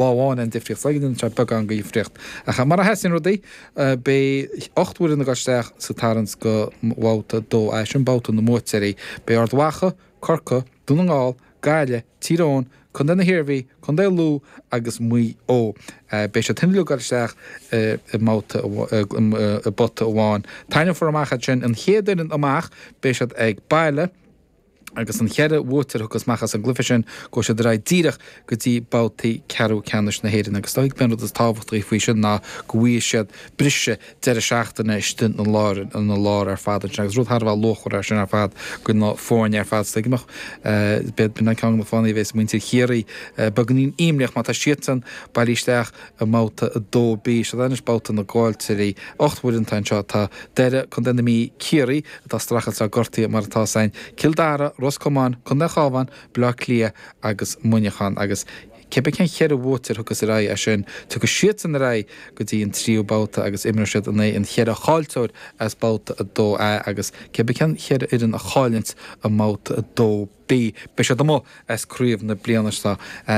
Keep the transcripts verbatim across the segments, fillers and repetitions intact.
Lá amháin an difríocht, so déanann sé beagán de dhifríocht. Ach mar a sheasann rudaí, beidh ocht bhfoireann ag dul isteach sa tarraingt go Babhta a dó A, sin babhta na mbuaiteoirí. Beidh Ard Mhacha, Corcaigh, Dún na nGall, Gaillimh, Tír Eoghain, Contae na hIarmhí, Contae Lú agus Maigh Eo. Beidh siad uilig ag dul isteach i mbabhta, i bpota amháin. Tarraingeofar amach iad sin, an chéad fhoireann amach, beidh siad ag baile. Agus an cheithre bhuaiteoir a thiocfas amach as an gcluiche sin, gabhfaidh siad ar aghaidh díreach go dtí babhtaí ceathrú ceannais na hÉireann. Agus is dóigh gurb é an rud is tábhachtaí faoi sin ná go bhfaighidh siad briseadh deireadh seachtaine istigh ina lár, ina lár ar fad ansin. Agus rud thar a bheith luachmhar é sin ar fad do na foirne ar fad. Is dóigh go mbeadh, b'in an ceann de na fáthanna a bheas muintir Chiarraí beagáinín imníoch má tá siadsan bailithe isteach i mbabhta a dó B. Seo anois babhta na gcaillteoirí. Ocht bhfoireann atá anseo. Tá Doire, Contae na Mí, Ciarraí, atá ag streachailt le gortuithe mar atá ann, Cill Dara, Ros Comáin, Contae an Chabháin, Baile Átha Cliath agus Muineachán agus cibé cén cheithre bhuaiteoir a thiocfas ar aghaidh as sin, tiocfaidh siadsan ar aghaidh go dtí an tríú babhta agus imreoidh siad in aghaidh an cheithre chaillteoir as babhta a dó A agus cibé cén cheithre fhoireann a chailleanns i mbabhta a dó B, beidh siad amuigh as craobh na bliana seo.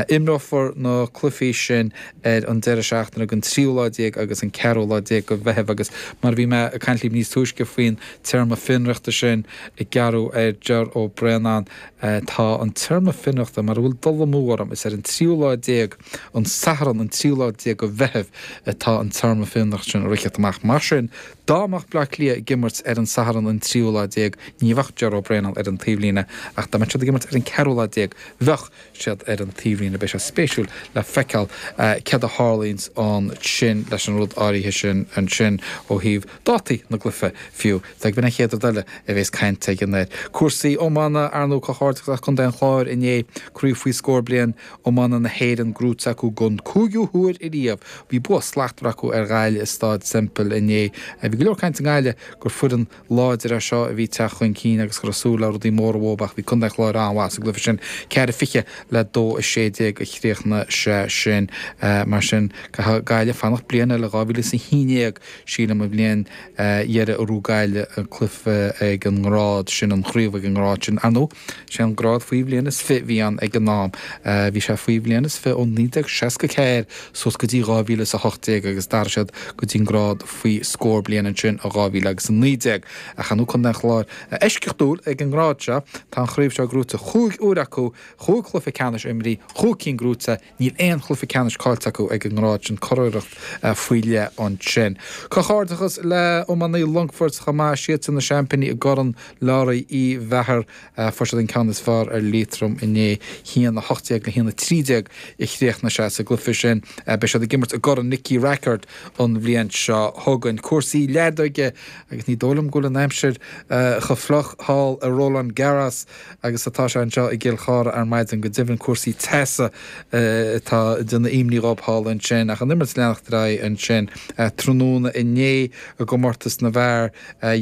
Imreofar na cluichí sin ar an deireadh seachtaine den tríú lá déag agus an ceathrú lá déag de Mheitheamh agus mar a bhí mé ag caint libh níos túisce faoin téarma fionraíochta sin ag gearradh ar Ger Ó Braonáin, tá an téarma fionraíochta, mura bhfuil dul amú orm, is ar an tríú lá déag, an Satharn an tríú lá déag de Mheitheamh atá an téarma fionraíochta sin ag rith amach. Mar sin, dá mbeadh Bleá Cliath ag imirt ar an Satharn an tríú lá déag, ní bheadh Ger Ó Braonáin ar an taobhlíne ach dá mbeadh siad ag imirt ar an ceathrú lá déag, bheadh siad ar an taobhlíne. Beidh sé spéisiúil le feiceáil céard a tharlaíonns ansin leis an rud áirithe sin ansin ó thaobh dátaí na gcluichí fiú. B'in an chéad rud eile a bheas caint againn air. Cúrsaí iomána, ar ndóigh, comhghairdeachas le Contae an Chláir inné, Craobh faoi scór bliain iomána na hÉireann gnóite acu don cúigiú huair ariamh. Bhí bua slachtmhar acu ar Ghaillimh i Staid Semple inné. Bhí go leor caint i nGaillimh gur foireann láidir é seo a bhí ag teacht chun cinn agus go raibh súil le rudaí móra uathu ach bhí Contae an Chláir an-mhaith sa gcluiche sin. Ceathair fiche le dó a sé déag a chríochnaigh sé sin. Mar sin, caithfidh Gaillimh fanacht bliain eile, dhá mhíle is a haon déag, sílim, an bhliain dheiridh a ghnóthaigh Gaillimh an cluiche ag an ngrád sin, an chraobh ag an ngrád sin. Ar ndóigh, sé an grád faoi bhliain is fiche a bhí ann ag an am. Bhí sé faoi bhliain is fiche ó naoi déag seasca ceathair suas go dtí dhá mhíle is a hocht déag agus d'athraigh siad go dtí an grád faoi scór bliain ansin i dhá mhíle agus a naoi déag. Ach ar ndóigh Contae an Chláir eisceachtúil ag an ngrád seo, tá an chraobh seo gnóite chúig uair acu, chúig chluiche ceannais imrithe, chúig cinn gnóite, níl aon chluiche ceannais caillte acu ag an ngrád sin, curiarracht faoi leith ansin. Comhghairdeachas le iománaí Longfoirt chomh maith, siadsan na seaimpíní i gCorn Learaí Uí Mheachair. Fuair siad an ceann is fearr ar Liatroim inné, haon a hocht déag le haon a trí déag a chríochnaigh sé sa gcluiche sin. Beidh siad ag imirt i gCorn Nicky Rackard an bhliain seo chugainn. Cúrsaí leadóige agus ní dóigh liom go bhfuil an aimsir chomh fliuch thall i Roland Garros agus atá sé anseo i gCill Chartha ar maidin. Go deimhin cúrsaí teasa atá ag déanamh imní dhóibh thall ansin. Ach an imirt ag leanacht ar aghaidh ansin tráthnóna inné i gcomórtas na bhfear,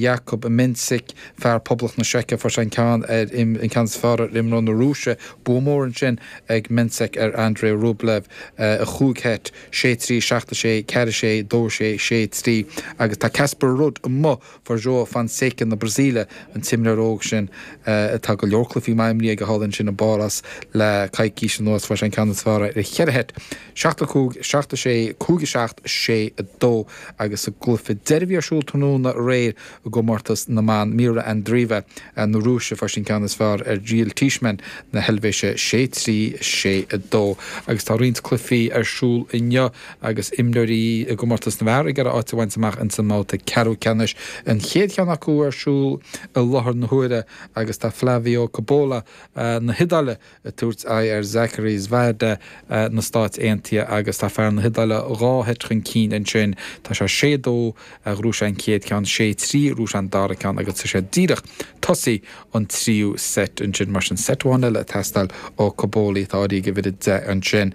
Jakub Mensik, fear Poblacht na Seice, fuair sé an ceann ar an ceann is fearr ar imreoir na Rúise. Bua mór ansin ag Mensik ar Andrei Rublev i chúig sheit, sé trí, seacht a sé, ceathair a sé, dó a sé, sé trí. Agus tá Casper Ruud amuigh, fuair João Fonseca na Brasaíle, an t-imreoir óg sin atá go leor cluichí maith imrithe aige thall ansin i bPáras le coicís anuas, fuair sé an ceann is fearr air i cheithre sheit, seacht a cúig, seacht a sé, cúig a seacht, sé a dó. Agus sa gcluiche deiridh a bhí ar siúl tráthnóna aréir i gcomórtas na mban, Mirra Andreeva na Rúise, fuair sí an ceann is fearr ar Jil Teichmann na hEilvéise, sé trí, sé a dó. Agus tá roinnt cluichí ar siúl inniu agus imreoirí i gcomórtas na bhfear ag iarraidh áit a bhaint amach ins an mbabhta ceathrú ceannais. An chéad cheann acu ar siúl i láthair na huaire agus tá Flavio Cobolli na hIodáile ag tabhairt aghaidh ar Zachary Svajda na Stáit Aontaithe agus tá fear na hIodáile dhá sheit chun cinn ansin. Tá sé sé dó, ghnóthaigh sé an chéad cheann, sé trí, ghnóthaigh sé an dara ceann agus tá sé díreach tosaithe an tríú seit ansin. Mar sin, seit amháin eile ag teastáil ó Cobolli, atá áirithe ag uimhir a deich ansin.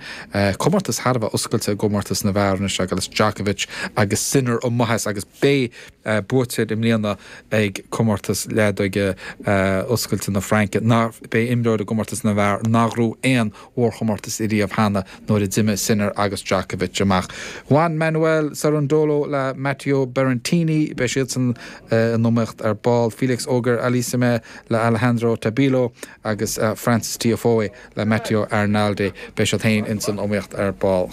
Comórtas thar a bheith oscailte i gcomórtas na bhfear anois agus Djokovic agus Sinner amuigh as agus b'fhéidir Beidh buaiteoir i mbliana ag comórtas leadóige oscailte na Fraince ná beidh imreoir i gcomórtas na bhfear nár ghnóthaigh aon mhórchomórtas ariamh cheana nuair a d'imigh Sinner agus Djokovic amach. Juan Manuel Cerundolo le Matteo Berrettini beidh siadsan in iomaíocht ar ball Felix Auger-Aliassime le Alejandro Tabilo agus Frances Tiafoe le Matteo Arnaldi beidh siad féin in san iomaíocht ar ball.